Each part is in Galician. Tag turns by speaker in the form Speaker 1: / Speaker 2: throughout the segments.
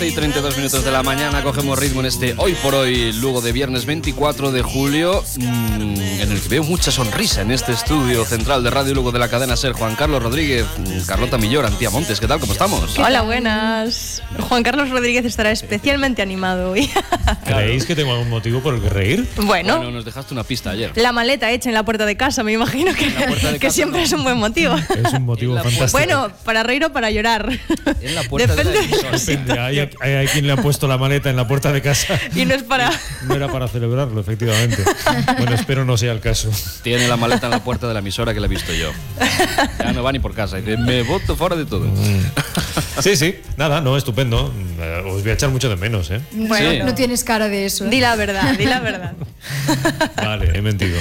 Speaker 1: Y 32 minutos de la mañana cogemos ritmo en este Hoy por Hoy, luego de viernes 24 de julio, en el que veo mucha sonrisa en este estudio central de Radio Lugo de la cadena SER. Juan Carlos Rodríguez, Carlota Millor, Antía Montes, ¿qué tal? ¿Cómo estamos?
Speaker 2: Hola, buenas. Juan Carlos Rodríguez estará especialmente animado hoy.
Speaker 3: ¿Creéis que tengo algún motivo por el que reír?
Speaker 2: Bueno,
Speaker 1: nos dejaste una pista ayer.
Speaker 2: La maleta hecha en la puerta de casa, me imagino que siempre es un buen motivo.
Speaker 3: Es un motivo fantástico.
Speaker 2: Bueno, para reír o para llorar.
Speaker 1: En la puerta
Speaker 2: Depende
Speaker 3: Depende, hay quien le ha puesto la maleta en la puerta de casa.
Speaker 2: Y no es para...
Speaker 3: No era para celebrarlo, efectivamente. Bueno, espero no sea el caso.
Speaker 1: Tiene la maleta en la puerta de la emisora que la he visto yo. Ya no va ni por casa. Dice, me boto fuera de todo.
Speaker 3: Sí, nada, no, estupendo. Os voy a echar mucho de menos, ¿eh?
Speaker 4: Bueno,
Speaker 1: Sí.
Speaker 4: no tienes cara de eso.
Speaker 2: Di la verdad, di la verdad.
Speaker 3: Vale, he mentido.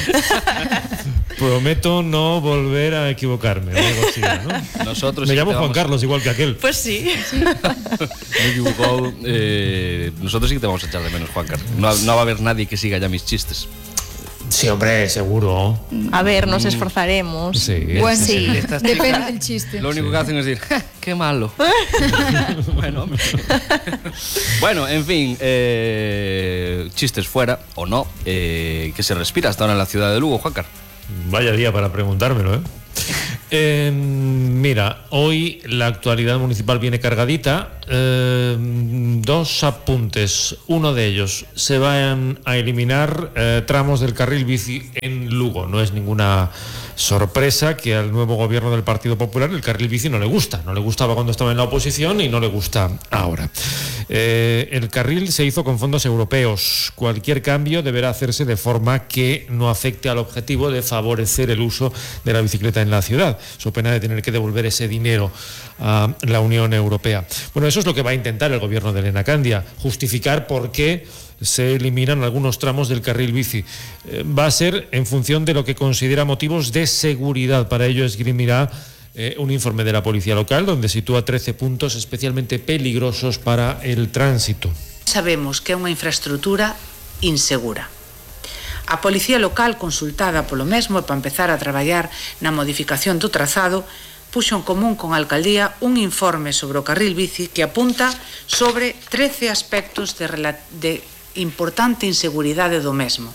Speaker 3: Prometo no volver a equivocarme. O algo así, ¿no?
Speaker 1: Nosotros
Speaker 3: Me
Speaker 1: sí
Speaker 3: llamo
Speaker 1: te
Speaker 3: Juan
Speaker 1: vamos-
Speaker 3: Carlos, igual que aquel.
Speaker 2: Pues sí.
Speaker 1: Me he equivocado. Nosotros sí que te vamos a echar de menos, Juan Carlos. No va a haber nadie que siga ya mis chistes.
Speaker 3: Sí, hombre, seguro.
Speaker 2: A ver, nos esforzaremos.
Speaker 3: Sí.
Speaker 4: Bueno,
Speaker 2: Sí.
Speaker 4: depende del chiste.
Speaker 1: Lo único que hacen es decir, "Ja, qué malo". Bueno, hombre. Bueno, en fin, chistes fuera o no, que se respira hasta ahora en la ciudad de Lugo, Juan Carlos.
Speaker 3: Vaya día para preguntármelo, ¿eh? Mira, hoy la actualidad municipal viene cargadita. Dos apuntes. Uno de ellos, se van a eliminar tramos del carril bici en Lugo. No es ninguna sorpresa que al nuevo gobierno del Partido Popular el carril bici no le gusta. No le gustaba cuando estaba en la oposición y no le gusta ahora. El carril se hizo con fondos europeos. Cualquier cambio deberá hacerse de forma que no afecte al objetivo de favorecer el uso de la bicicleta en la ciudad, so pena de tener que devolver ese dinero a la Unión Europea. Bueno, eso es lo que va a intentar el gobierno de Elena Candia, justificar por qué se eliminan algunos tramos del carril bici. Va a ser en función de lo que considera motivos de seguridad. Para ello esgrimirá un informe de la policía local donde sitúa 13 puntos especialmente peligrosos para el tránsito.
Speaker 5: Sabemos que é unha infraestructura insegura. A Policía Local, consultada polo mesmo e para empezar a traballar na modificación do trazado, puxo en común con a Alcaldía un informe sobre o carril bici que apunta sobre 13 aspectos de importante inseguridade do mesmo.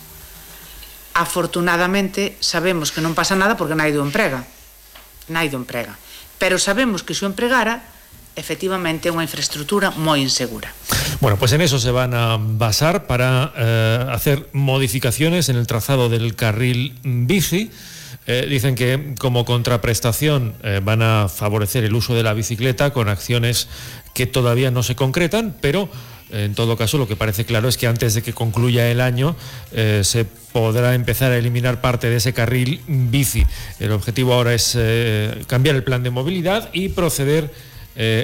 Speaker 5: Afortunadamente, sabemos que non pasa nada porque naido emprega. Pero sabemos que se o empregara, efectivamente é unha infraestructura moi insegura.
Speaker 3: Bueno, pues en eso se van a basar para hacer modificaciones en el trazado del carril bici. Dicen que como contraprestación van a favorecer el uso de la bicicleta con acciones que todavía no se concretan, pero en todo caso lo que parece claro es que antes de que concluya el año se podrá empezar a eliminar parte de ese carril bici. El objetivo ahora es cambiar el plan de movilidad y proceder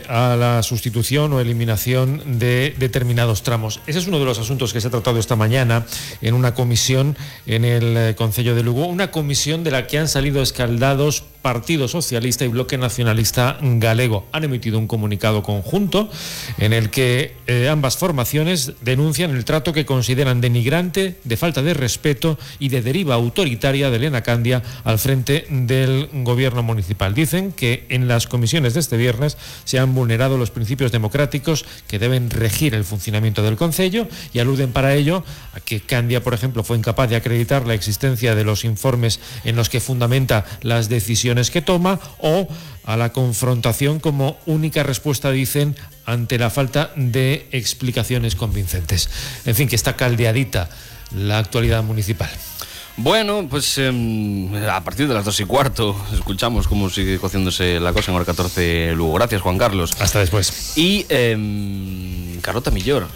Speaker 3: a la sustitución o eliminación de determinados tramos. Ese es uno de los asuntos que se ha tratado esta mañana en una comisión en el Concello de Lugo, una comisión de la que han salido escaldados Partido Socialista y Bloque Nacionalista Galego. Han emitido un comunicado conjunto en el que ambas formaciones denuncian el trato que consideran denigrante, de falta de respeto y de deriva autoritaria de Elena Candia al frente del gobierno municipal. Dicen que en las comisiones de este viernes se han vulnerado los principios democráticos que deben regir el funcionamiento del concello y aluden para ello a que Candia, por ejemplo, fue incapaz de acreditar la existencia de los informes en los que fundamenta las decisiones que toma, o a la confrontación como única respuesta, dicen, ante la falta de explicaciones convincentes. En fin, que está caldeadita la actualidad municipal.
Speaker 1: Bueno, pues a partir de las 2:15 escuchamos cómo sigue cociéndose la cosa en hora 14 Lugo. Gracias, Juan Carlos.
Speaker 3: Hasta después.
Speaker 1: Y Carlota Millor.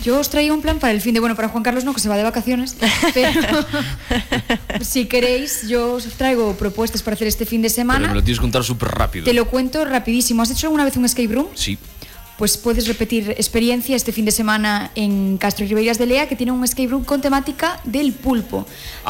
Speaker 4: Yo os traía un plan para el fin de... Bueno, para Juan Carlos no, que se va de vacaciones, pero si queréis, yo os traigo propuestas para hacer este fin de
Speaker 1: Pero
Speaker 4: semana.
Speaker 1: me lo tienes que contar súper rápido.
Speaker 4: Te lo cuento rapidísimo. ¿Has hecho alguna vez un escape room?
Speaker 1: Sí.
Speaker 4: Pues puedes repetir experiencia este fin de semana en Castro y Ribeiras de Lea, que tiene un escape room con temática del pulpo.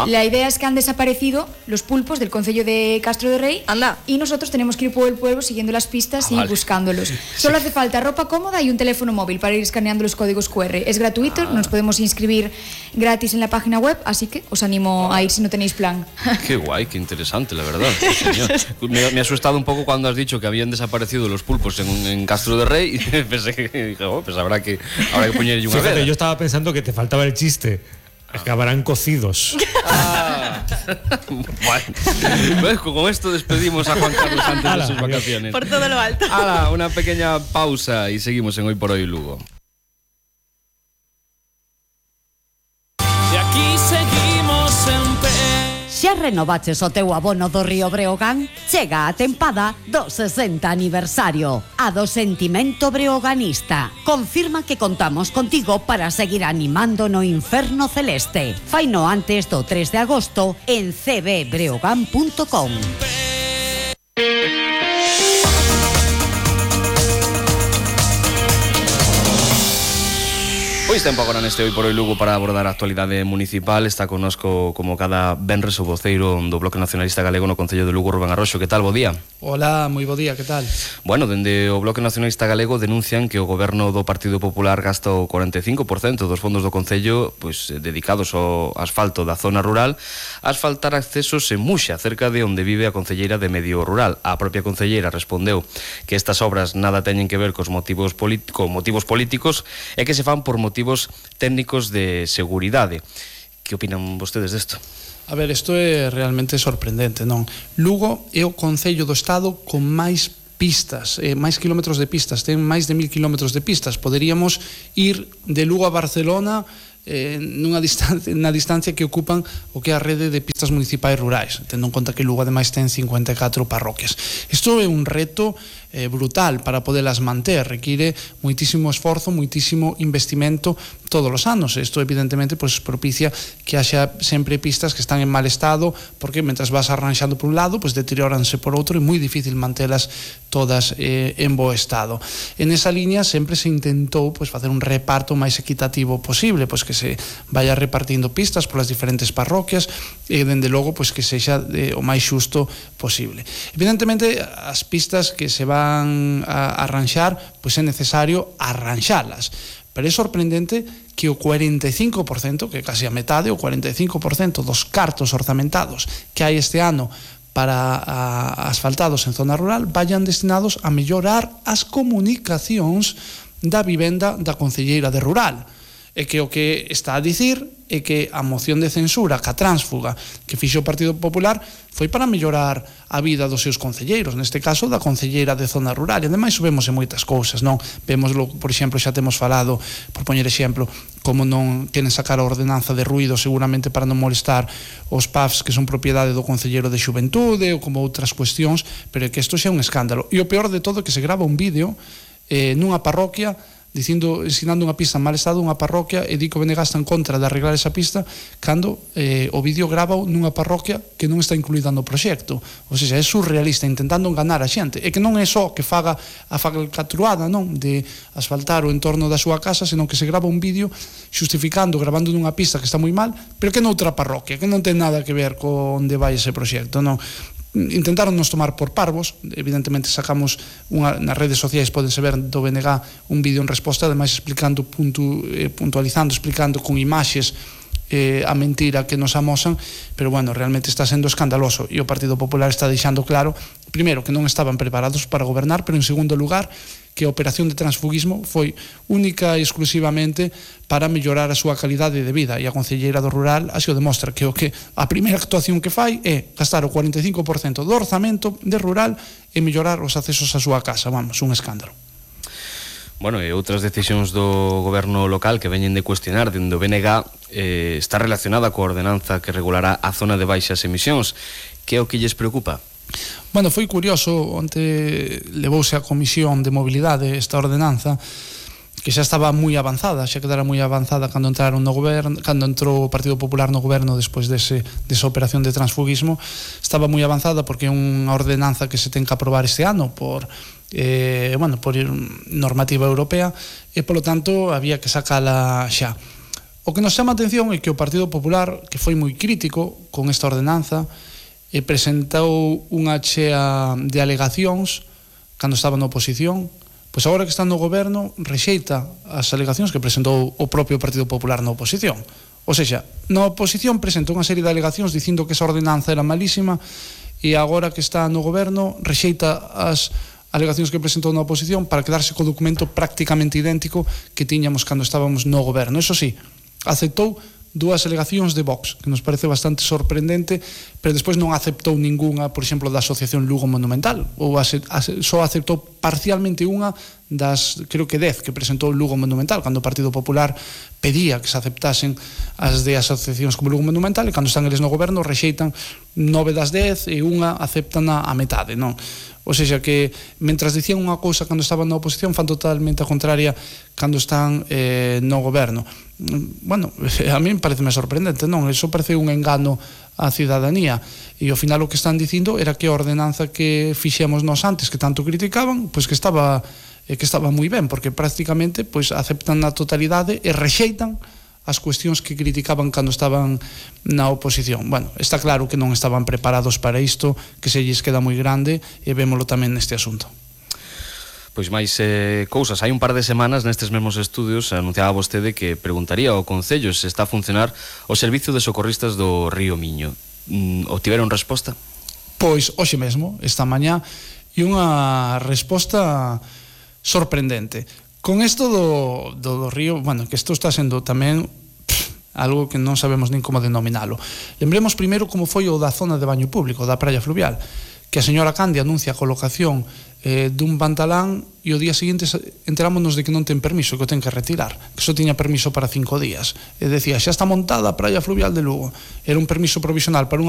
Speaker 4: La idea es que han desaparecido los pulpos del concello de Castro de Rey.
Speaker 2: Anda.
Speaker 4: Y nosotros tenemos que ir por el pueblo siguiendo las pistas y
Speaker 1: vale.
Speaker 4: buscándolos. Solo hace falta ropa cómoda y un teléfono móvil para ir escaneando los códigos QR. Es gratuito, nos podemos inscribir gratis en la página web, así que os animo a ir si no tenéis plan.
Speaker 1: Qué guay, qué interesante, la verdad. Sí, señor. Me ha asustado un poco cuando has dicho que habían desaparecido los pulpos en Castro de Rey. Pensé que dije, pues habrá que poñerlle unha vela.
Speaker 3: Fíjate, yo estaba pensando que te faltaba el chiste. Acabarán cocidos.
Speaker 1: Bueno, con esto despedimos a Juan Carlos antes de sus vacaciones.
Speaker 2: Por todo lo alto.
Speaker 1: Una pequeña pausa y seguimos en Hoy por Hoy Lugo.
Speaker 6: E aquí seguimos en pé.
Speaker 7: Xa renovaches o teu abono do Río Breogán? Chega a tempada do 60 aniversario. A do sentimento breoganista. Confirma que contamos contigo para seguir animando no inferno celeste. Faino antes do 3 de agosto en cbbreogan.com.
Speaker 1: Pois tempo agora neste Hoy por Hoy Lugo para abordar a actualidade municipal. Está connosco como cada venres o voceiro do Bloque Nacionalista Galego no Concello de Lugo, Rubén Arroxo. Que tal, bo día?
Speaker 8: Hola, moi bo día, que tal?
Speaker 1: Bueno, dende o Bloque Nacionalista Galego denuncian que o goberno do Partido Popular gasta o 45% dos fondos do Concello dedicados ao asfalto da zona rural a asfaltar accesos en Muxa, cerca de onde vive a concelleira de Medio Rural. A propia concelleira respondeu que estas obras nada teñen que ver cos motivos políticos e que se fan por motivos técnicos de seguridade. Que opinan vostedes desto?
Speaker 8: A ver, isto é realmente sorprendente, non? Lugo é o concello do estado con máis pistas, máis kilómetros de pistas, ten máis de 1000 kilómetros de pistas. Poderíamos ir de Lugo a Barcelona na distancia que ocupan o que é a rede de pistas municipais rurais, tendo en conta que Lugo ademais ten 54 parroquias. Isto é un reto brutal para podelas manter, require moitísimo esforzo, moitísimo investimento todos os anos. Isto evidentemente propicia que haxa sempre pistas que están en mal estado, porque mentras vas arranxando por un lado, deterioranse por outro, e moi difícil mantelas todas en bo estado. En esa liña sempre se intentou facer un reparto máis equitativo posible, que se vaya repartindo pistas polas diferentes parroquias e dende logo que sexa o máis xusto posible. Evidentemente as pistas que se van a arranxar é necesario arranxalas, pero é sorprendente que o 45%, que é casi a metade, o 45% dos cartos orzamentados que hai este ano para asfaltados en zona rural vayan destinados a mellorar as comunicacións da vivenda da concelleira de Rural. E que o que está a dicir é que a moción de censura que a tránsfuga que fixo o Partido Popular foi para mellorar a vida dos seus concelleiros, neste caso da concelleira de zona rural. E ademais subemos en moitas cousas, non? Vémoslo, por exemplo, xa temos falado, por poñer exemplo, como non queren sacar a ordenanza de ruído seguramente para non molestar os pubs que son propiedade do concelleiro de Xuventude, ou como outras cuestións, pero é que isto xa é un escándalo. E o peor de todo é que se grava un vídeo nunha parroquia ensinando unha pista en mal estado, unha parroquia, e di que o BNG está en contra de arreglar esa pista cando o vídeo grava nunha parroquia que non está incluída no proxecto. Ou seja, é surrealista, intentando enganar a xente. E que non é só que faga a falcatruada, non, de asfaltar o entorno da súa casa, senón que se grava un vídeo xustificando, gravando nunha pista que está moi mal, pero que noutra parroquia, que non ten nada que ver con onde vai ese proxecto, non? Intentaron nos tomar por parvos. Evidentemente sacamos nas redes sociais, podense ver do BNG un vídeo en resposta, ademais explicando, puntualizando, explicando con imaxes a mentira que nos amosan, pero bueno, realmente está sendo escandaloso, e o Partido Popular está deixando claro, primeiro, que non estaban preparados para gobernar, pero en segundo lugar, que a operación de transfugismo foi única e exclusivamente para mellorar a súa calidade de vida, e a concelleira do Rural así o demostra, que a primeira actuación que fai é gastar o 45% do orzamento de Rural e mellorar os accesos á súa casa. Vamos, un escándalo.
Speaker 1: Bueno, e outras decisións do goberno local que veñen de cuestionar dende o BNG está relacionada coa ordenanza que regulará a zona de baixas emisións. Que é o que lles preocupa?
Speaker 8: Bueno, foi curioso, onte levouse a Comisión de Mobilidade esta ordenanza, que xa estaba moi avanzada, xa quedara moi avanzada cando entraron no goberno, cando entrou o Partido Popular no goberno despois desa operación de transfugismo. Estaba moi avanzada porque é unha ordenanza que se ten que aprobar este ano por normativa europea, e polo tanto había que sacala xa. O que nos chama a atención é que o Partido Popular, que foi moi crítico con esta ordenanza, presentou unha chea de alegacións cando estaba na oposición, pois agora que está no goberno rexeita as alegacións que presentou o propio Partido Popular na oposición. Ou seja, na oposición presentou unha serie de alegacións dicindo que esa ordenanza era malísima, e agora que está no goberno rexeita as alegacións que presentou na oposición para quedarse co documento prácticamente idéntico que tiñamos cando estábamos no goberno. Eso sí, aceptou dúas alegacións de Vox, que nos parece bastante sorprendente, pero despois non aceptou ningunha, por exemplo, da Asociación Lugo Monumental, ou só aceptou parcialmente unha das, creo que 10, que presentou Lugo Monumental, cando o Partido Popular pedía que se aceptasen as de asociacións como Lugo Monumental, e cando están eles no goberno rexeitan 9 das 10 e unha aceptan a metade, non? Ou seja, que mentras dicían unha cousa cando estaban na oposición, fan totalmente a contraria cando están no goberno. Bueno, a mí pareceme sorprendente, non? Eso parece un engano á cidadanía, e ao final o que están dicindo era que a ordenanza que fixemos nós antes, que tanto criticaban, pois que estaba moi ben, porque prácticamente pois aceptan na totalidade e rexeitan as cuestións que criticaban cando estaban na oposición. Bueno, está claro que non estaban preparados para isto, que se lles queda moi grande, e vémolo tamén neste asunto.
Speaker 1: Pois máis cousas. Hai un par de semanas nestes mesmos estudios anunciaba vostede que preguntaría ao Concello se está a funcionar o servicio de socorristas do Río Miño. Obtiveron resposta?
Speaker 8: Pois hoxe mesmo, esta mañá, e unha resposta sorprendente. Con isto do río, bueno, que isto está sendo tamén algo que non sabemos nin como denominalo. Lembremos primeiro como foi o da zona de baño público, da praia fluvial, que a señora Candia anuncia a colocación dun pantalán e o día seguinte enterámonos de que non ten permiso, que o ten que retirar, que só tiña permiso para 5 días. E decía, xa está montada a praia fluvial de Lugo. Era un permiso provisional para unha